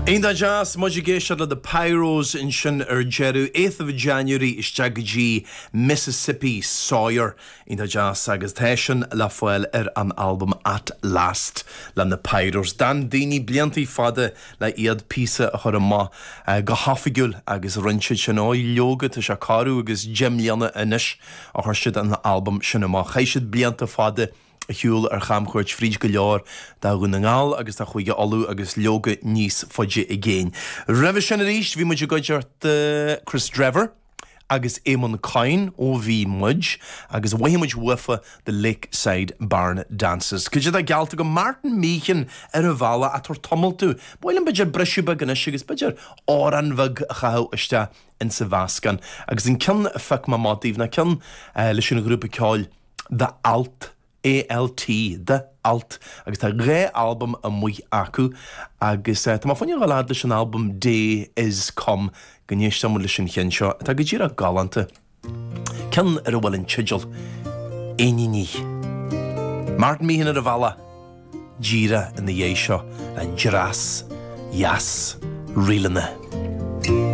Iontach deas, muid ag éisteacht le The Pyros ansin ar deireadh, 8th of January isteach go dtí Mississippi Sawyer. Iontach deas agus tá sin le fáil ar an albam At Last le na Pyros. D'fhan daoine bliantaí fada le iad píosa a chur amach go hoifigiúil agus rinne siad sin. Ó, leoga, tá sé corradh agus 10 mbliana anois a chuir siad an albam sin amach. Chaith siad blianta fada ar shiúl ar chamchuairt fríd go leor de Dhún na nGall agus de Chúige Uladh agus leoga níos faide i gcéin. Roimhe sin arís bhí muid i gcuideachta Kris Drever agus Eamon Coyne ó Bhí Muid agus mhothaigh muid uafa The Lakeside Barn Dances. Cad é atá geallta agam Martin Meehan ar an bhealach ag tabhairt tamall domh. Ba mhaith liom b'fhéidir briseadh beag anois agus b'fhéidir amhrán bheag a chaitheamh isteach insa mheascán. Agus an ceann a phioc mé amach daoibh ná ceann leis an ghrúpa ceoil The Alt, ALT, The Alt, agus tá 2 albam amuigh acu agus tá mé fá choinne dhul fhad leis an albam Day Is Come go n-éisteann muid leis an cheann seo atá go díreach galánta. Ceann ar a bhfuil an teideal Éiníní. Martin Meehan ar an bhealach díreach ina dhiaidh seo le dreas dheas ríleanna.